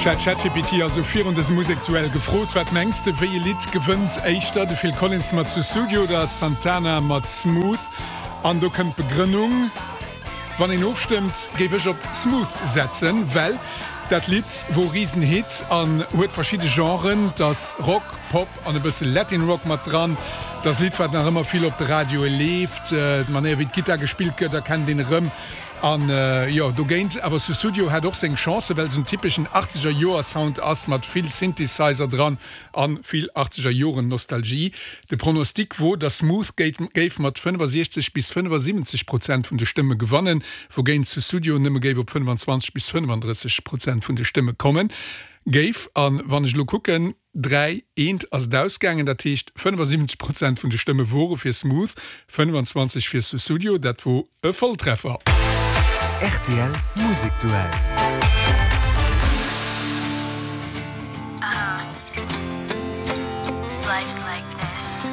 Ech hat ChatGPT also virun dësem Musekduell gefrot, Wat mengs de, wéi e Lidd gewënnt éischter, de Phil Collins mat Sussudio oder Santana mat Smooth? An do kënnt d'Begrënnung, Wann een ofstëmmt, géif ech op Smooth setzen, well dat Lidd wor Risenhit an huet verschidde Genren, 't ass Rock, Pop an e bësse Latin Rock mat dran. 't ass e Lidd, wat nach ëmmer vill op de Radioe leeft. D'Manéier wéi d'Gittar gespillt gëtt, erkennt een erëm. An jo, dogéint awer Sussudio hat och seng Chancen, well se en typeschen achtzeger Joer Sound ass mat vill Synthesizer dran an vill achtzeger Joren Nostalgie. De Pronostic wor, dass Smooth géif mat 65 bis 75 Prozent vun de Stëmme gewannen, wougéint Sussudio nëmme géif op 25 bis 35 Prozent vun de Stëmme komme géif. An wann ech elo kucken, 3, eent ass et ausgaangen, dat heescht 75 Prozent vun de Stëmme wore fir Smooth, 25 fir Sussudio. Dat wor e Volltreffer. Rtl Musekduell.